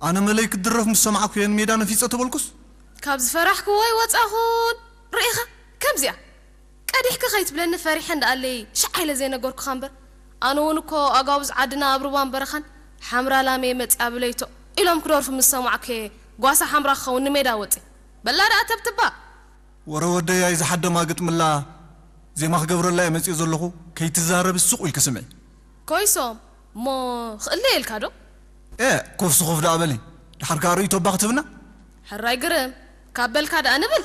ኣነ መለይ ክትድረፍ ምስ ሰማዕኩ እየ ንሜዳ ነፊጸ ተበልኩስ። ካብ ዝፈራሕክዎ ኣይወጻኹን። ርኢኻ፣ ከምዚኣ ቀዲሕኪ ከይትብለኒ ፈሪሐ እንዳኣለይ ሽዓ ኢለ ዘይነገርኩኻ እምበር፣ ኣነ እውን እኮ ኣጋውዝ ዓድና ኣብ ሩባን በረኻን ሓምራ ላሜ መጽያ ብለይቶ ኢሎም ክደርፉ ምስ ሰማዕኩ እየ ጓሳ ሓምራ ክኸውን ንሜዳ ወጺ። በላ ደኣ ተብትባ። ወረ ወደይ ኣይዝሓደማ ግጥምላ ዜማ ክገብረላ እየ መጺኡ ዘለኹ። ከይትዛረብ ሱቕ ኢልኪ ስምዒ። ኮይሶም እሞ ክእለ ኢልካ ዶ? ኤ ኮፍ ስኹፍ ደኣ በሊ። ድሓር ከኣ ርእይቶ እባ ክትህብና። ሕራይ ግርም ካብ በልካ ደኣ ንብል።